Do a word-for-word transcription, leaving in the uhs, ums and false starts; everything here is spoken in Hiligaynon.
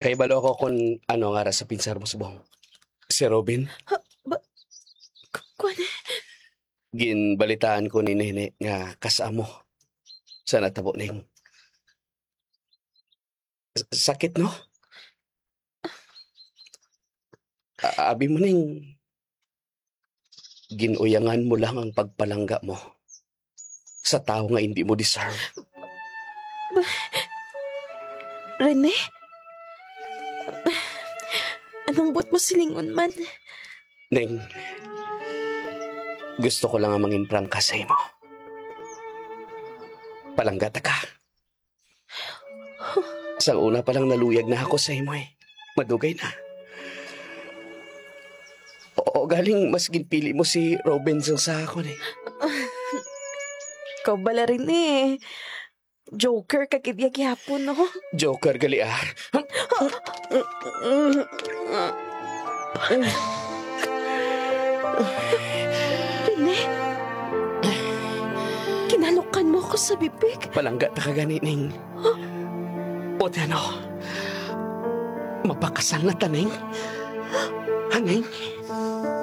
Kay balo ako kung ano nga ra sa pinsar mo subong. Si Robin? Ha? Ba? K-, kuwan eh. Ginbalitaan ko ni Nene nga kasamo sa natabo ning. S-, sakit, no? A-, abi mo ning gin-uyangan mo lang ang pagpalangga mo sa tawo nga indi mo deserve. Ba-, Rene? Anong buot mo silingon man? Neng, gusto ko lang nga mangin prangka sa imo. Palangga ta ka. Sang una pa lang naluyag na ako sa imo eh. Madugay na. O, galing mas ginpili mo si Robin sang sa akon eh. Ikaw bala rin eh. Joker ka gid ya gihapon, no? Joker gali ah. Rene? Kinalukan mo ako sa bibig. Palangga ta ka gani, Ning. O, ano? Mapakasal na ta, Ning? Ha, Ning?